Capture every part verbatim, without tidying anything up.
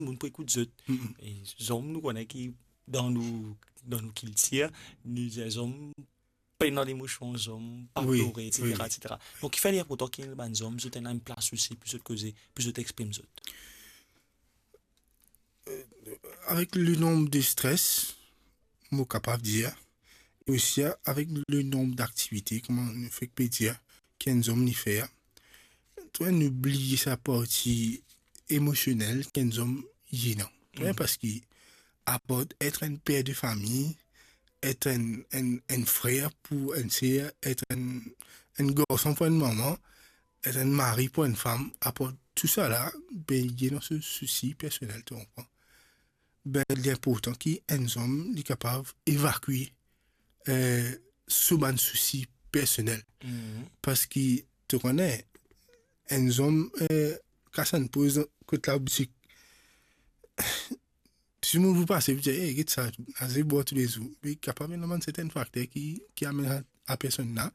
dimoun pou ekout zot. Mm. E zom, nou kone ki dan nou, dan nou kiltir, nou dir zom pena lemosion, zom pa plore, etsetera, etsetera. Donk, kifer li inportan ki bann zom, zot ena enn plas osi pou zot koze, pou zot exprim zot? Avek le nombre de stress, mo kapav dir, e osi avek le nombre d'activités, kouma nou fek pe dir, ki enn zom li fer, to, nou bliye sa parti emosionel ki enn zom li ena. To, parski apar et enn per de fami, et enn, enn, enn frer pou enn ser, et enn, enn garson pou enn mama, et enn mari pou enn fam, apar tou sa la, be, li ena so sousi personel, to konpran? Be, li inportan ki enn zom, li kapav evakwe, eh, so bann sousi personel. Mhm. Parski, to kone, enn zom, eh, kas enn poz kot laboutik. Tou dimoun pou pase, pou dir, "Ey, get sa, aze bwar toulezour." Li kapav ena bann sertenn fakter ki, ki amenn a, a personn la,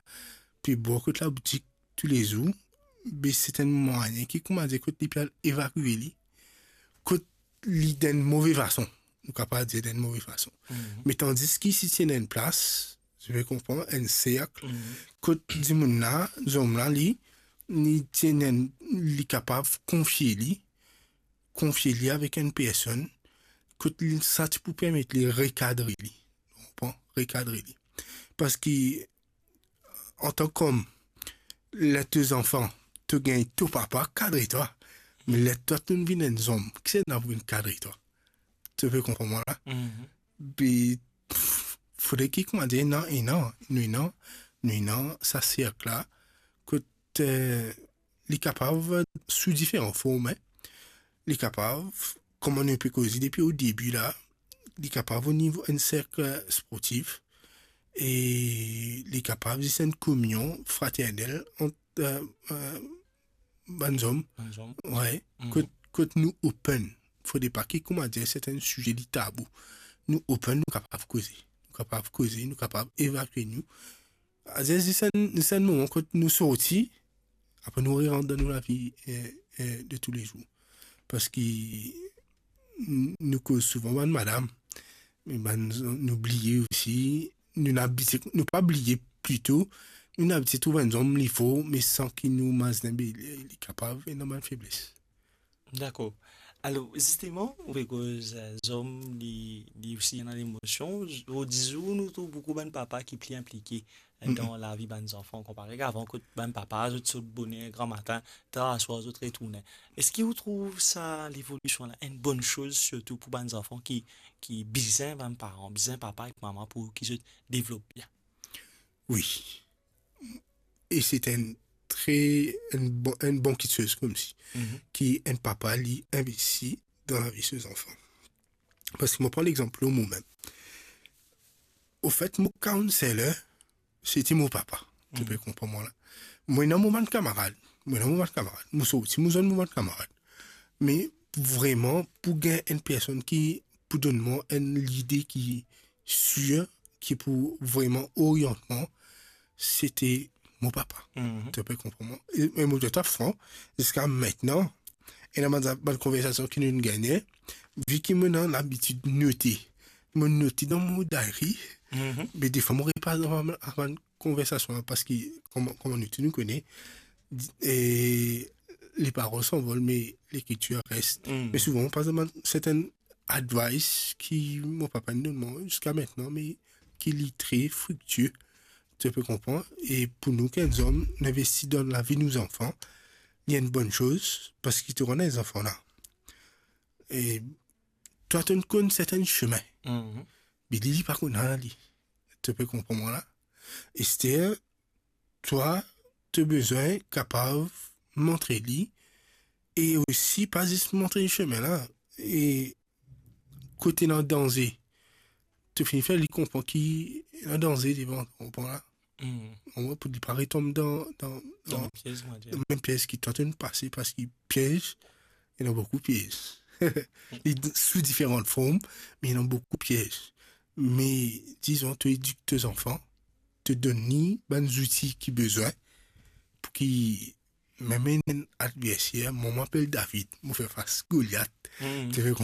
pou bwar kot laboutik toulezour, be sertenn mwayin ki, kouma dir, kot li pe al evakwe li, kot li dan enn move fason. Nou kapav dir dan enn move fason. Mhm. Me tandis ki si ti ena enn plas, to pe konpran, enn serk, mhm, kot dimoun la, zom la, li, li ti ena enn, li kapav konfie li, konfie li avek enn personn, kot li, sa ti pou permet li rekadre li. Ou konpran? Rekadre li. Parski, antan k'om, ler to zanfan, to gagn to papa kadre twa. Me ler twa to vinn enn zom, kisannla pou vinn kadre twa? To pe konpran mwa la? Mhm. Be, pff, fode ki, kouma dir, ena, ena, nou ena, nou ena sa serk la, kot, eh, li kapav sou diferan form, hein. Li kapav, kouma nou pe koze depi o debi la, li kapav o nivo enn serk, eh, sportif, e li kapav zis enn kominion fraternel ant, eh, eh, bann zom. Bann zom. Wi. Mhm. Kot, kot nou open. Fode pa ki, kouma dir, sertenn size li tabou. Nou open, nou kapav koze. Nou kapav koze, nou kapav evakwe nou. Aze, zis enn, zis enn moman kot nou sorti, apre nou rerant dan nou lavi, eh, eh, de toulezour. Parski n-, nou koz souvan bann madam, me bann, nou bliye osi, nou abitie, nou pa bliye plito, nou abitie trouv enn zom li for, me san ki nou mazin, be, li, li kapav ena bann febles. Dakor. Alor, zisteman, ou pe koz, eh, zom, li, li osi ena lemosion. Zordi zour, nou trouv boukou bann papa ki pli inplike, eh, dan lavi bann zanfan, konpare avan, kot bann papa, zot sot boner gramatin, tar aswar, zot retourne. Eski ou trouv sa levolision la enn bonn soz, sirtou pou bann zanfan ki, ki bizin bann paran, bizin papa ek mama pou ki zot devlop bien? Wi. E se enn tre, enn bon, enn bon kitsoz koumsi, mhm, ki enn papa, li investi dan lavi so zanfan. Parski mo pran lexanp lor momem. Ofet, mo counselor, se ti mo papa. To, mhm, pe konpran mwa la. Mo ena mo bann kamarad. Mo ena mo bann kamarad. Mo sorti, mo zwenn mo bann kamarad. Me vreman, pou gagn enn personn ki pou donn mwa enn lide ki sir, ki pou vreman oriant mwa, se ti mo papa. Mhm. To pe konpran mwa. E, e mo dir twa fran, ziska aster, ena bann, bann konversasion ki nou gagne, vi ki mo ena labitid note, mo note dan mo diary, mhm, me defwa mo repas dan bann, bann konversasion la, parski, kouma, kouma nou tou nou kone, e, les paroles s'envolent, mais l'écriture reste. Mhm. Me souvan, mo pas sertenn advice ki mo papa inn donn mwa ziska aster, me ki li tre friktie, to pe konpran. E pou nou ki enn zom, nou investi dan lavi nou zanfan, li enn bonn soz, parski to ena zanfan la. E twa, to konn sertenn semin. Mhm. Me li, li pa konn al li. To pe konpran mwa la? Aster, twa, to bizin kapav montre li, e osi pa zis montre li semin la, e kot ena danze, to finn fer li konpran ki ena danze devan, konpran la? Hmm. Omwin pou li pa retonm dan, dan, dan, dan piez, on va dir, mem piez ki twa to pase, parski piez, ena boukou piez. Li d-, sou diferan form, me ena boukou piez. Me, dizon, to edik to zanfan, to donn li bann zouti ki bizin, pou ki mem enn adverser, mwa, mo apel David, mo fer fas Goliath. Hmm. To pe